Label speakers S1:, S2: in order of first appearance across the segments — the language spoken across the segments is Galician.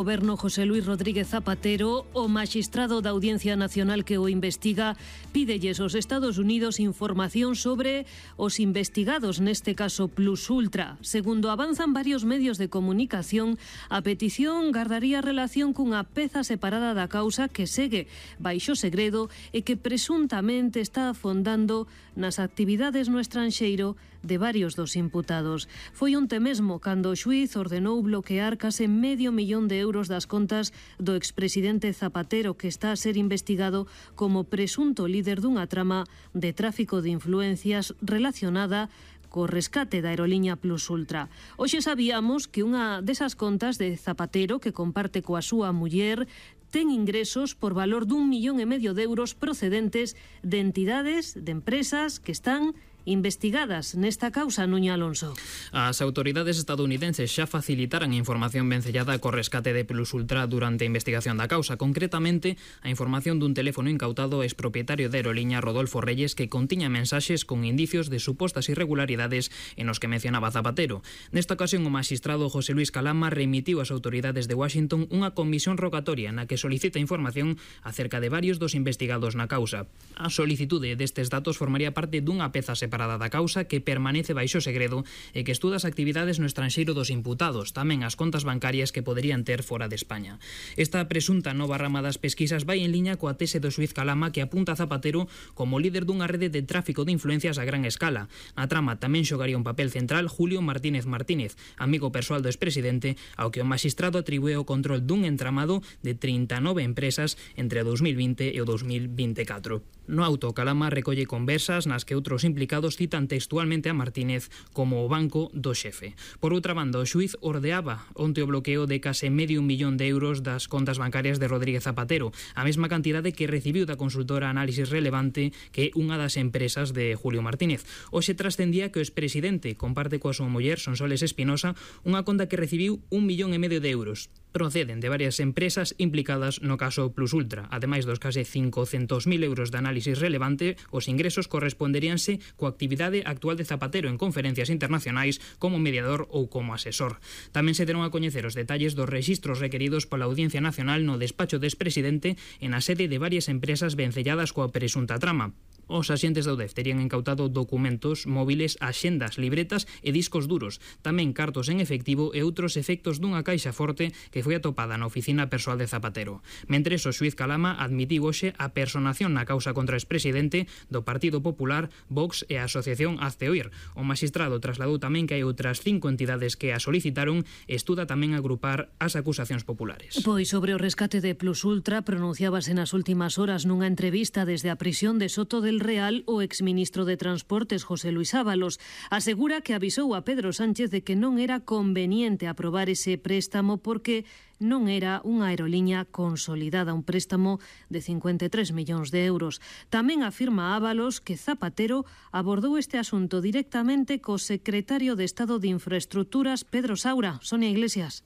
S1: Goberno José Luis Rodríguez Zapatero, o maxistrado da Audiencia Nacional que o investiga, pídelles aos Estados Unidos información sobre os investigados, neste caso Plus Ultra. Segundo avanzan varios medios de comunicación, a petición gardaría relación cunha peza separada da causa que segue baixo segredo e que presuntamente está afondando nas actividades no estranxeiro de varios dos imputados. Foi onte mesmo cando o xuíz ordenou bloquear case medio millón de euros das contas do expresidente Zapatero, que está a ser investigado como presunto líder dunha trama de tráfico de influencias relacionada co rescate da aeroliña Plus Ultra. Hoxe sabíamos que unha desas contas de Zapatero, que comparte coa súa muller, ten ingresos por valor d'1,5 millón de euros procedentes de entidades, de empresas que están investigadas nesta causa, Nuña Alonso.
S2: As autoridades estadounidenses xa facilitaran información vencellada co rescate de Plus Ultra durante a investigación da causa, concretamente a información dun teléfono incautado ex propietario da aeroliña Rodolfo Reyes que contiña mensaxes con indicios de supostas irregularidades en os que mencionaba Zapatero. Nesta ocasión o magistrado José Luis Calama remitiu ás autoridades de Washington unha comisión rogatoria na que solicita información acerca de varios dos investigados na causa. A solicitude destes datos formaría parte dunha peza separada da causa que permanece baixo segredo e que estuda as actividades no estranxeiro dos imputados, tamén as contas bancarias que poderían ter fora de España. Esta presunta nova rama das pesquisas vai en liña coa tese do xuíz Calama que apunta a Zapatero como líder dunha rede de tráfico de influencias a gran escala. Na trama tamén xogaría un papel central Julio Martínez Martínez, amigo persoal do expresidente, ao que o magistrado atribúe o control dun entramado de 39 empresas entre o 2020 e o 2024. No auto, Calama recolle conversas nas que outros implicados citan textualmente a Martínez como o banco do xefe. Por outra banda, o xuíz ordeaba onte o bloqueo de case medio millón de euros das contas bancarias de Rodríguez Zapatero, a mesma cantidade que recibiu da consultora Análisis Relevante, que é unha das empresas de Julio Martínez. Hoxe trascendía que o expresidente comparte coa súa muller, Sonsoles Espinosa, unha conta que recibiu 1,5 millón de euros. Proceden de varias empresas implicadas no caso Plus Ultra. Ademais dos case 500.000 euros de Análisis Relevante, os ingresos corresponderíanse coa actividade actual de Zapatero en conferencias internacionais como mediador ou como asesor. Tamén se deron a coñecer os detalles dos rexistros requeridos pola Audiencia Nacional no despacho do expresidente en a sede de varias empresas vencelladas coa presunta trama. Os axentes da UDEF terían incautado documentos, móviles, axendas, libretas e discos duros, tamén cartos en efectivo e outros efectos dunha caixa forte que foi atopada na oficina persoal de Zapatero. Mentres, o xuíz Calama admitiu hoxe a personación na causa contra o expresidente do Partido Popular, Vox e a Asociación Hazte Oír. O magistrado trasladou tamén que hai outras 5 entidades que a solicitaron e estuda tamén agrupar as acusacións populares.
S1: Pois sobre o rescate de Plus Ultra pronunciábase nas últimas horas nunha entrevista desde a prisión de Soto del Real o exministro de Transportes José Luis Ábalos. Asegura que avisou a Pedro Sánchez de que non era conveniente aprobar ese préstamo porque non era unha aeroliña consolidada, un préstamo de 53 millóns de euros. Tamén afirma Ábalos que Zapatero abordou este asunto directamente co secretario de Estado de Infraestructuras, Pedro Saura. Sonia Iglesias.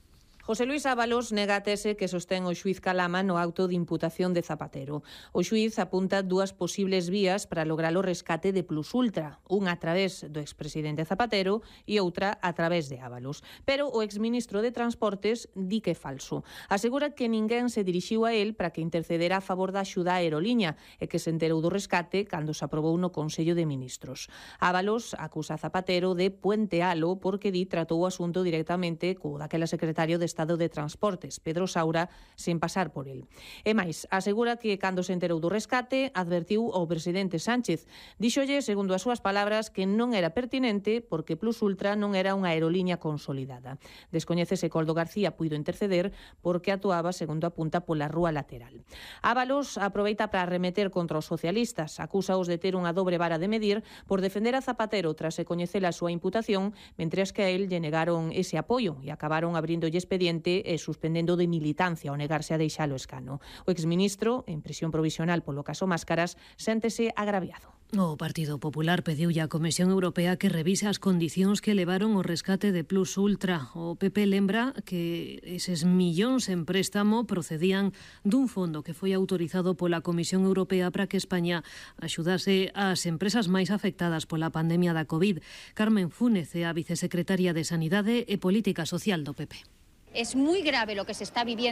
S3: José Luis Ábalos nega a tese que sostén o xuíz Calama no auto de imputación de Zapatero. O xuíz apunta dúas posibles vías para lograr o rescate de Plus Ultra, unha a través do expresidente Zapatero e outra a través de Ábalos. Pero o exministro de Transportes di que é falso. Asegura que ninguén se dirixiu a él para que intercedera a favor da axuda á aeroliña e que se enterou do rescate cando se aprobou no Consello de Ministros. Ábalos acusa a Zapatero de puentealo porque di tratou o asunto directamente co daquela secretario de Estado de Transportes, Pedro Saura, sen pasar por el. E máis, asegura que cando se enterou do rescate, advertiu ao presidente Sánchez. Díxolle, segundo as súas palabras, que non era pertinente porque Plus Ultra non era unha aeroliña consolidada. Descoñece se Coldo García puido interceder porque actuaba, segundo apunta, pola rúa lateral. Ábalos aproveita para arremeter contra os socialistas, acúsaos de ter unha dobre vara de medir por defender a Zapatero tras se coñecer a súa imputación, mentres que a él lle negaron ese apoio e acabaron abrindolle expediente e suspendendo de militancia ao negarse a deixalo escano. O exministro, en prisión provisional polo caso Máscaras, séntese agraviado.
S1: O Partido Popular pediulle á Comisión Europea que revise as condicións que levaron o rescate de Plus Ultra. O PP lembra que eses millóns en préstamo procedían dun fondo que foi autorizado pola Comisión Europea para que España axudase ás empresas máis afectadas pola pandemia da COVID. Carmen Fúnez é a vicesecretaria de Sanidade e Política Social do PP.
S4: Es muy grave lo que se está viviendo.